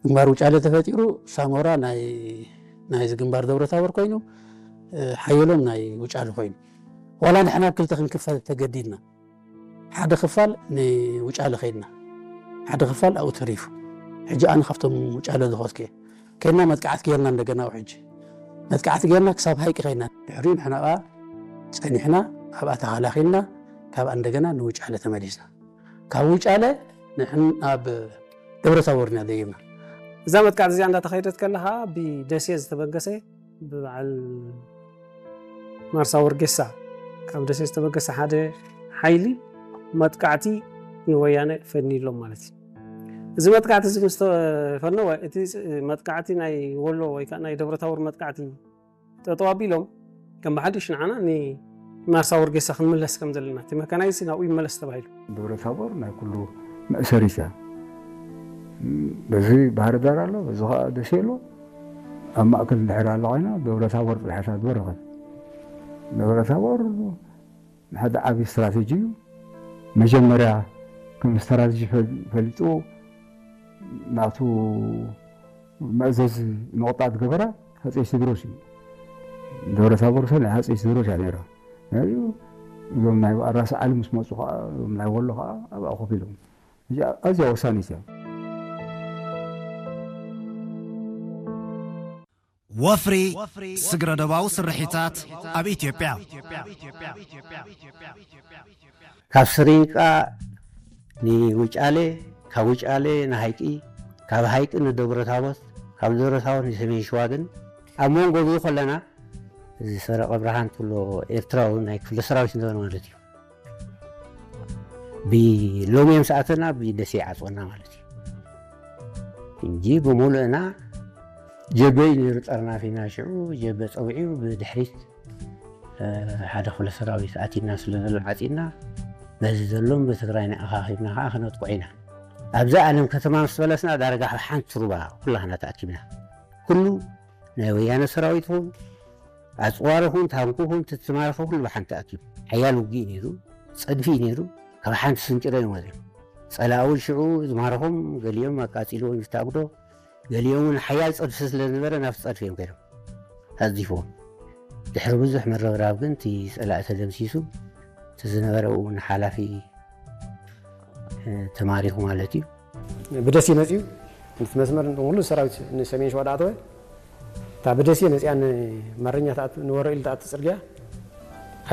ግንባር ውጫለ ተፈጢሩ ሳሞራ ናይ ናይዚ ግንባር ደብረ ታቦር ኮይኑ፣ ሓየሎም ናይ ውጫለ ኮይኑ፣ ዋላ ንሕና ኣብ ክልተ ክንክፈል ተገዲድና። ሓደ ክፋል ንውጫለ ከይድና፣ ሓደ ክፋል ኣብኡ ተሪፉ። ሕጂ ኣነ ካብቶም ውጫለ ዝኸድኩ እየ። ከይድና መጥቃዕቲ ጌርና፣ እንደገና ኣብ ሕጂ መጥቃዕቲ ጌርና ክሳብ ሃይቂ ከይድና፣ ድሕሪኡ ንሕና ከኣ ጸኒሕና ኣብኣ ተኸላኺልና፣ ካብኣ እንደገና ንውጫለ ተመሊስና። ካብ ውጫለ ንሕን ኣብ ደብረ ታቦር ኢና ደይብና። እዛ መጥቃዕቲ እዚኣ እንዳተኸይደት ከላ ኸኣ ብደሴ ዝተበገሰ፣ ብበዓል ማርሳ ወርጌሳ ካብ ደሴ ዝተበገሰ ሓደ ሓይሊ መጥቃዕቲ ንወያነ ፈንይሎም ማለት እዩ። እዚ መጥቃዕቲ እዚ ምስ ተፈነወ፣ እቲ መጥቃዕቲ ናይ ወሎ ወይ ከዓ ናይ ደብረ ታቦር መጥቃዕቲ ጠጠው ኣቢሎም፣ ከም ብሓድሽ ንዓና ንማርሳ ወርጌሳ ክንምለስ ከም ዘለና፣ እቲ መካናይዝ ናብኡ ይመለስ ተባሂሉ። ደብረ ታቦር ናይ ኩሉ መእሰሪት እያ። በዚ ባህር ዳር ኣሎ፣ በዚ ኸዓ ደሴ ኣሎ። ኣብ ማእከል እንድሕር ኣሎ ኮይና፣ ደብረ ታቦር ጥራሕ እያ ትበርኸት። ደብረ ታቦር ንሓደ ዓቢ ስትራቴጂ እዩ። መጀመርያ ከም ስትራቴጂ ፈ-፣ ፈሊጡ ናቱ መእዘዚ ንቑጣ ዝገበረ ሃፀይ ቴዎድሮስ እዩ። ደብረ ታቦር ሰ ናይ ሃፀይ ቴዎድሮስ እያ ነይራ። እዩ እዞም ናይ ራስ ዓሊ ምስ መፁ ከዓ፣ እዞም ናይ ወሎ ከዓ ኣብኣ ኮፍ ኢሎም። እዚኣ ኣዝያ ወሳኒት እያ። ወፍሪ ስግረ ዶባዊ ስርሒታት ኣብ ኢትዮጵያ። ካብ ስሪንቃ ንውጫሌ፣ ካብ ውጫሌ ንሃይቂ፣ ካብ ሃይቂ ንደብረታቦት፣ ካብ ደብረታቦት ንሰሜን ሸዋ። ግን ኣብ መንጎ እዚ ከለና እዚ ሰረቐ ብርሃን ትብሎ ኤርትራዊ ናይ ክፍለ ሰራዊት ነበረ ማለት እዩ። ብሎሚ እዮም ሰኣተና፣ ብደሴ ይዓፅወና ማለት እዩ እንጂ ብሙሉእና ጀበ እዩ ነይሩ ጠርናፊና። ሽዑ ጀበ ፀዊዑ ብድሕሪት ሓደ ክፍለ ሰራዊት ኣቲና ስለ ዘሎ ዓፂና፣ በዚ ዘሎም ብትግራይ ንኣኻኺብና ከዓ ክነጥቁዕ ኢና። ኣብዚ ኣለም ከተማ ምስ በለስና ዳርጋ ኣብ ሓንቲ ሩባ ኩላህና ተኣኪብና። ኩሉ ናይ ወያነ ሰራዊት ይኹን ኣፅዋር ይኹን ታንኩ ይኹን ትትማረኸ ኩሉ ብሓንቲ ኣኪቡ ሓያል ውግእ ነይሩ። ፀድፊ እዩ ነይሩ። ካብ ሓንቲ ስንጭሮ እዮም ወፂኦም። ፀላእውን ሽዑ ዝማረኾም ገሊኦም ኣቃፂልዎም ይታግዶ፣ ገሊኦም እውን ሓያል ፀድፊ ስለ ዝነበረ ናብቲ ፀድፊ እዮም ከይዶም ኣፅዲፍዎም። ድሕሪ ብዙሕ ምርብራብ ግን እቲ ፀላኢ ተደምሲሱ፣ እቲ ዝነበረ እውን ሓላፊ ተማሪኹ ማለት እዩ። ብደሴ መፅዩ፣ ነቲ መስመር ንሙሉ ሰራዊት ንሰሜን ሸዋ ዳኣተወ፣ እታ ብደሴ መፅያ ንማረኛ ትኣቱ፣ ንወረኢሉ ትኣቱ ፅርግያ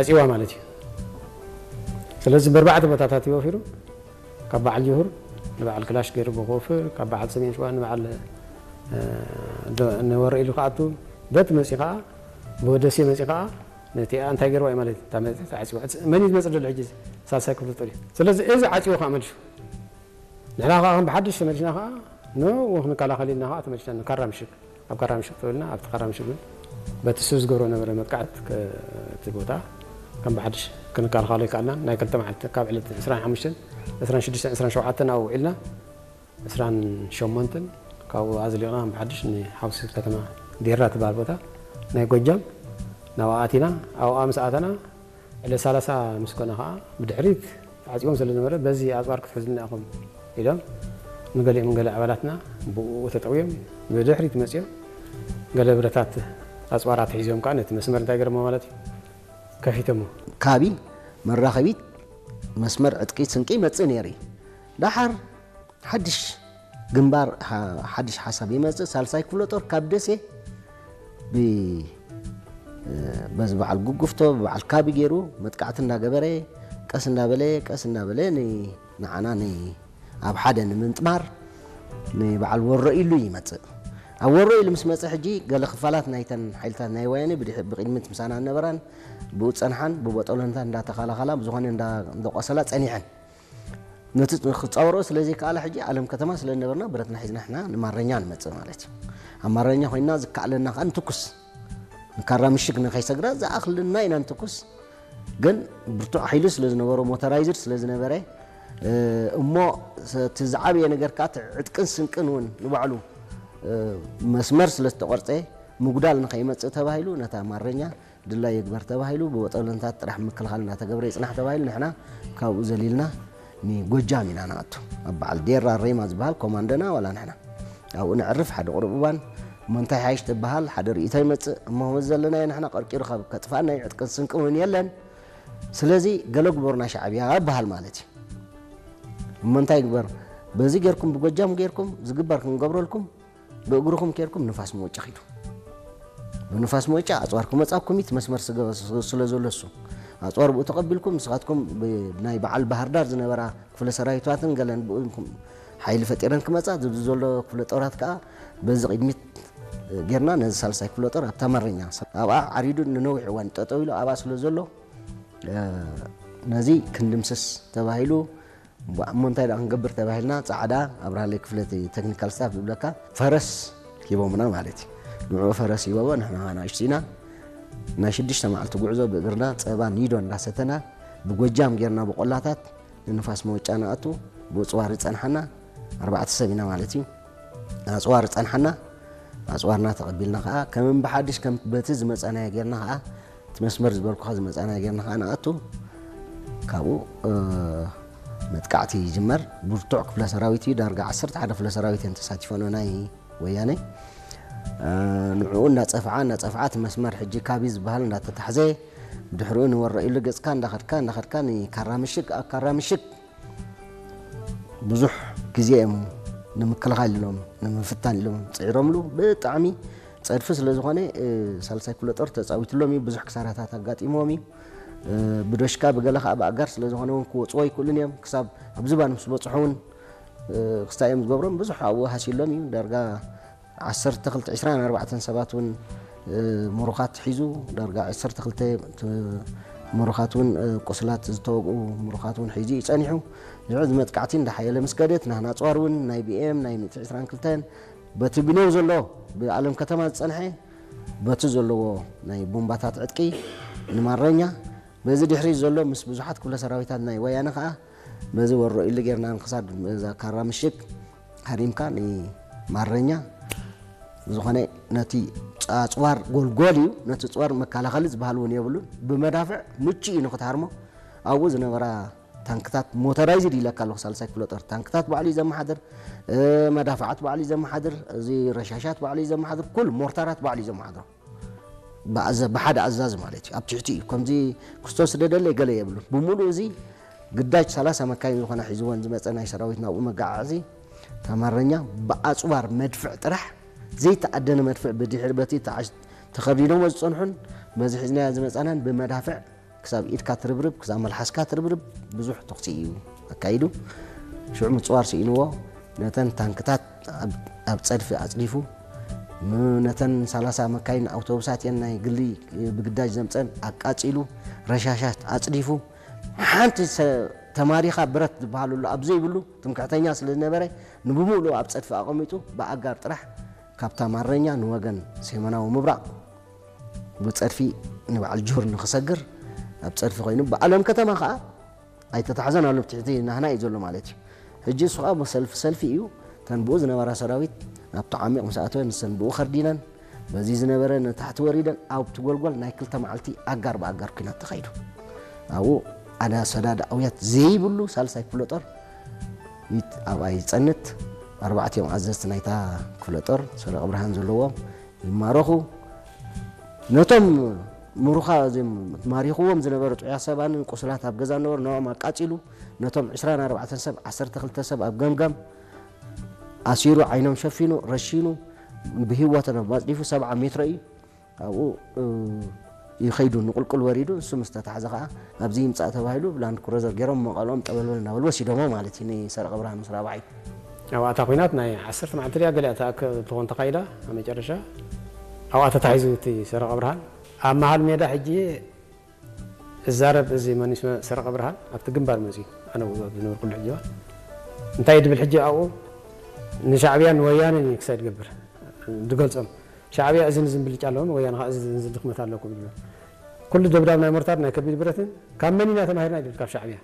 ዓፅዋ ማለት እዩ። ስለዚ በርባዕተ ቦታታት እዩ ወፊሩ፣ ካብ በዓል ጅሁር ንበዓል ክላሽ ገይሩ ብኮፍር፣ ካብ በዓል ሰሜን ሸዋ ንበዓል ንወረኢሉ ክኣቱ፣ በቲ መፂ ከዓ ብደሴ መፂ ከዓ ነቲ እንታይ ገይርዋ እዩ ማለት እዩ። እታ መፅያ ተዓፅዋ። መን እዩ ዝመፅእ ዘሎ ሕጂ? ሳልሳይ ክፍለ ጦር እዩ። ስለዚ እዚ ዓፅዎ ከዓ መልሹ ንሕና ከዓ ከም ብሓድሽ ተመሊስና ከዓ ንኡ ክንከላኸል ኢልና ከዓ ተመሊስና ንካራ ምሽግ፣ ኣብ ካራ ምሽግ ተበልና። ኣብቲ ካራ ምሽግ እውን በቲ እሱ ዝገብሮ ነበረ መጥቃዕት፣ እቲ ቦታ ከም ብሓድሽ ክንከላኸሎ ኣይከኣልናን። ናይ ክልተ መዓልቲ፣ ካብ ዕለት ዕስራን ሓሙሽተን፣ ዕስራን ሽዱሽተን፣ ዕስራን ሸውዓተን ኣብኡ ውዒልና። ዕስራን ሸሞንተን ካብኡ ኣዝሊቕና ከም ብሓድሽ ንሓውሲ ከተማ ዴራ ትበሃል ቦታ ናይ ጎጃም ናብኣ ኣቲና። ኣብኣ ምስ ኣተና ዕለት ሰላሳ ምስ ኮነ ከዓ ብድሕሪት ተዓፂቦም ስለ ዝነበረ በዚ ኣፅዋር ክትሕዙልና ኢኹም ኢሎም ንገሊኦም ገለ ኣባላትና ብኡ ተጠውዮም ብድሕሪት መፅዮም ገለ ብረታት ኣፅዋራት ሒዞም ከዓ ነቲ መስመር እንታይ ገረሞ ማለት እዩ ከፊቶሞ። ካቢ መራኸቢት መስመር ዕጥቂ ስንቂ ይመፅእ ነይሩ እዩ። ደሓር ሓድሽ ግንባር ሓድሽ ሓሳብ ይመፅእ። ሳልሳይ ክፍለ ጦር ካብ ደሴ በዚ በዓል ጉጉፍቶ በዓል ካቢ ገይሩ መጥቃዕቲ እንዳገበረ ቀስ እንዳበለ ቀስ እንዳበለ ንዓና ኣብ ሓደ ንምንጥማር ንበዓል ወሮ ኢሉ ይመፅእ። ኣብ ወሮ ኢሉ ምስ መፀ ሕጂ ገለ ክፋላት ናይተን ሓይልታት ናይ ወያነ ብቅድሚት ምሳና ነበራን ብኡ ፀንሓን ብቦጠሎንታት እንዳተኸላኸላ ብዝኾነ እንዳቆሰላ ፀኒሐን። ነቲ ክፃወሮ ስለዘይከኣላ ሕጂ ኣለም ከተማ ስለዝነበርና ብረትና ሒዝና ሕና ንማረኛ ንመፅእ ማለት እዩ። ኣብ ማረኛ ኮይና ዝከኣለና ከዓ ንትኩስ ንካራ ምሽግ ንከይሰግራ ዝኣኽልና ኢና ንትኩስ። ግን ብርቱዕ ሓይሊ ስለዝነበሮ ሞተራይዝድ ስለዝነበረ እሞ እቲ ዝዓበየ ነገር ከዓ ዕጥቅን ስንቅን እውን ንባዕሉ መስመር ስለዝተቆርፀ ምጉዳል ንከይመፅእ ተባሂሉ ነታ ማረኛ ድላይ ይግበር ተባሂሉ ብወጠለንታት ጥራሕ ምክልኻል እናተገብረ ይፅናሕ ተባሂሉ ንሕና ካብኡ ዘሊልና ንጎጃም ኢና ንኣቱ። ኣብ በዓል ዴራ ሬማ ዝበሃል ኮማንዶና ዋላ ንሕና ኣብኡ ነዕርፍ። ሓደ ቁሩብ እዋን እሞ እንታይ ሓይሽ ትበሃል፣ ሓደ ርእይቶ ይመጽእ። እሞ ከምዚ ዘለናዮ ንሕና ቀርቂሩ ካብ ከጥፍኣና እዩ፣ ዕጥቅን ስንቅን እውን የለን። ስለዚ ገለ ግበሩና ሻዕብያ ይበሃል ማለት እዩ። እሞ እንታይ ይግበር? በዚ ጌርኩም፣ ብጎጃም ጌርኩም ዝግበር ክንገብረልኩም፣ ብእግርኹም ኬድኩም ንፋስ መወጫ ኺዱ። ብንፋስ መወጫ ኣጽዋር ክመጻኩም እቲ መስመር ስለ ዘሎ እሱ ኣጽዋር ብኡ ተቐቢልኩም፣ ንስኻትኩም ብ-፣ ናይ በዓል ባህር ዳር ዝነበራ ክፍለ ሰራዊታትን ገለን ብኡ ሓይሊ ፈጢረን ክመጻ፣ ዝብዚ ዘሎ ክፍለ ጦራት ከኣ በዚ ቅድሚት ጌርና ነዚ ሳልሳይ ክፍለ ጦር ኣብታ ማረኛ ኣብኣ ዓሪዱ ንነዊሕ እዋን ጠጠው ኢሉ ኣብኣ ስለ ዘሎ፣ እ፣ ነዚ ክንድምስስ ተባሂሉ። እሞ እንታይ ደኣ ክንገብር ተባሂልና፣ ጻዕዳ ኣብርሃለይ ክፍለ እቲ ቴክኒካል ስታፍ ዝብለካ ፈረስ ሂቦምና ማለት እዩ። ንዕኡ ፈረስ ሂቦሞ፣ ንሕና ከኣ ንኣሽቱ ኢና። ናይ ሽዱሽተ መዓልቲ ጉዕዞ ብእግርና ጸባ ኒዶ እንዳሰተና ብጎጃም ጌርና ብቆላታት ንንፋስ መወጫ ንኣቱ። ብጽዋር ዝጸንሓና ኣርባዕተ ሰብ ኢና ማለት እዩ። ኣጽዋር ዝጸንሓና፣ ኣጽዋርና ተቐቢልና ከኣ ከም ብሓድሽ ከም በቲ ዝመጻናዮ ጌርና ከኣ እቲ መስመር ዝበልኩኻ ዝመጻናዮ ጌርና ከኣ ንኣቱ። ካብኡ፣ እ፣ መጥቃዕቲ ይጅመር። ብርቱዕ ክፍለ ሰራዊት እዩ። ዳርጋ ዓሰርተ ሓደ ክፍለ ሰራዊት እየን ተሳቲፈን ናይ ወያነ። እ፣ ንዕኡ እናጸፍዓ፣ እናጸፍዓ እቲ መስመር ሕጂ ካቢ ዝበሃል እንዳተታሕዘ፣ ብድሕሪኡ ንወረኢሉ ገጽካ እንዳኸድካ፣ እንዳኸድካ ንካራ ምሽግ፣ ኣብ ካራ ምሽግ ብዙሕ ግዜ እዮም ንምክልኻል ኢሎም፣ ንምፍታን ኢሎም ጽዒሮምሉ። ብጣዕሚ ጸድፊ ስለ ዝኾነ፣ እ፣ ሳልሳይ ክፍለ ጦር ተጻዊትሎም እዩ። ብዙሕ ክሳራታት ኣጋጢምዎም እዩ። እ፣ ብዶሽካ ብገለ ኸኣ ብኣጋር ስለ ዝኾነ እውን ክወጽዎ ኣይክእሉን እዮም። ክሳብ ኣብ ዝባን ምስ በጽሑ እውን፣ እ፣ ክስታይ እዮም ዝገብሮም። ብዙሕ ኣብኡ ሃሲሎም እዩ። ዳርጋ ዓሰርተ ክልተ፣ ዕስራን ኣርባዕተን ሰባት እውን፣ እ፣ ምሩኻት ሒዙ፣ ዳርጋ ዓሰርተ ክልተ ት-፣ ምሩኻት እውን፣ እ፣ ቁስላት ዝተወግኡ ምሩኻት እውን ሒዙ እዩ ጸኒሑ። ንዑ እዚ መጥቃዕቲ እንዳሓየለ ምስ ከደት፣ ናህና ኣጽዋር እውን ናይ ቢ ኤም ናይ ሚእቲ ዕስራን ክልተን በቲ ብኔው ዘሎ ብኣለም ከተማ ዝጸንሐ በቲ ዘለዎ ናይ ቡምባታት ዕጥቂ ንማረኛ፣ በዚ ድሕሪት ዘሎ ምስ ብዙሓት ክፍለ ሰራዊታት ናይ ወያነ ከኣ በዚ ወሮ ኢሉ ጌርና ንክሳድ እዛ ካራ ምሽግ ሃሪምካ ንማረኛ ዝኾነ ነቲ ኣጽዋር ጎልጎል እዩ። ነቲ ኣጽዋር መከላኸሊ ዝበሃል እውን የብሉን። ብመዳፍዕ ምቹእ እዩ ንክትሃርሞ። ኣብኡ ዝነበራ ታንክታት ሞተራይዝድ ኢለካ ኣለኹ፣ ሳልሳይ ክፍለ ጦር ታንክታት ባዕሉ እዩ ዘመሓድር፣ እ፣ መዳፍዓት ባዕሉ እዩ ዘመሓድር፣ እዚ ረሻሻት ባዕሉ እዩ ዘመሓድር፣ ኩሉ ሞርታራት ባዕሉ እዩ ዘመሓድሮ። ብኣዘ-፣ ብሓደ ኣዛዚ ማለት እዩ። ኣብ ትሕቲ እዩ። ከምዚ ክርስቶስ ደደለ ገለ የብሉን። ብምሉእ እዚ ግዳጅ ሰላሳ መካይን ዝኾና ሒዝወን ዝመጸ ናይ ሰራዊት ናብኡ መጋዓዓዚ፣ ታማረኛ ብኣጽዋር መድፍዕ ጥራሕ፣ ዘይተኣደነ መድፍዕ ብድሕሪ በቲ ተዓሽ-፣ ተኸርዲኖሞ ዝጸንሑን በዚ ሒዝናዮ ዝመጻናን ብመዳፍዕ ክሳብ ኢድካ ትርብርብ፣ ክሳብ መልሓስካ ትርብርብ ብዙሕ ተኹሲ እዩ ኣካይዱ። ሽዑ ምጽዋር ስኢንዎ፣ ነተን ታንክታት ኣብ፣ ኣብ ጸድፊ ኣጽዲፉ፣ ም-፣ ነተን ሰላሳ መካይን ኣውቶቡሳት እየን ናይ ግሊ ብግዳጅ ዘምጸን ኣቃጺሉ፣ ረሻሻት ኣጽዲፉ፣ ሓንቲ ሰ-፣ ተማሪኻ ብረት ዝበሃለሉ ኣብ ዘይብሉ ትምክሕተኛ ስለ ዝነበረ፣ ንብምሉኡ ኣብ ጸድፊ ኣቐሚጡ፣ ብኣጋር ጥራሕ ካብታ ማረኛ ንወገን ሰሜናዊ ምብራቕ ብጸድፊ ንበዓል ጆር ንኽሰግር ኣብ ጸድፊ ኮይኑ፣ ብኣለም ከተማ ኸኣ ኣይተታሕዘን ኣሎ፣ ብትሕቲ ናህና እዩ ዘሎ ማለት እዩ። ሕጂ እሱ ኸኣ ብሰልፊ ሰልፊ እዩ። እተን ብኡ ዝነበራ ሰራዊት ናብቲ ዓሚቕ ምስ ኣተወ፣ ንሰን ብኡ ኸርዲነን፣ በዚ ዝነበረ ንታሕቲ ወሪደን፣ ኣብቲ ጎልጎል ናይ ክልተ መዓልቲ ኣጋር ብኣጋር ኲናት ተኻይዱ። ኣብኡ ኣዳ ሰዳድ ኣውያት ዘይብሉ ሳልሳይ ክፍለ ጦር ይት-፣ ኣብኣ ይጸንት። ኣርባዕቲኦም ኣዘዝቲ ናይታ ክፍለ ጦር ሰረቐ ብርሃን ዘለዎም ይማረኹ። ነቶም ምሩኻ-፣ እዚም ማሪኽዎም ዝነበሩ ጥዑያት ሰባንን ቁስላት ኣብ ገዛ ነበሩ፣ ንዕኦም ኣቃጺሉ። ነቶም ዕስራን ኣርባዕተን ሰብ፣ ዓሰርተ ክልተ ሰብ ኣብ ገምገም ኣሲሩ፣ ዓይኖም ሸፊኑ፣ ረሺኑ፣ ብህይወቶም ኣጽዲፉ፣ ሰብዓ ሜትሮ እዩ። ኣብኡ፣ እ፣ ይኸይዱ፣ ንቁልቁል ወሪዱ። ንሱ ምስ ተታሕዘ ኸኣ ኣብዚ ይምጻእ ተባሂሉ ብላንድ ክሩዘር ገይሮም መቐልኦም ጠበልበል እናበሉ ወሲዶሞ ማለት እዩ፣ ንሰረቐ ብርሃን ምስ ራብዓይ። ኣብኣ እታ ኲናት ናይ ዓሰርተ መዓልቲ ድያ ገሊኣ ትኣክል ትኾን ተኻይዳ፣ ኣብ መጨረሻ ኣብኣ ተታሒዙ እቲ ሰረቐ ብርሃን። ኣብ መሃል ሜዳ ሕጂ እዛረብ እዚ መኒስ ሰረቐ ብርሃን ኣብቲ ግንባር መጺኡ፣ ኣነ ኣብኡ ዝነበርኩሉ ሕጂ እዋን። እንታይ እዩ ድብል ሕጂ ኣብኡ ንሻዕብያን ወያነን እዩ ክሳይ ድገብር ድገልጾም። ሻዕብያ እዝን እዝን ብልጫ ኣለዎም፣ ወያነ ኸኣ እዝን እዝን ድኽመት ኣለኩም ይብሎም። ኩሉ ደብዳብ ናይ ሞርታር ናይ ከቢድ ብረትን ካብ መን ኢና ተማሂርና ይብል፣ ካብ ሻዕብያ።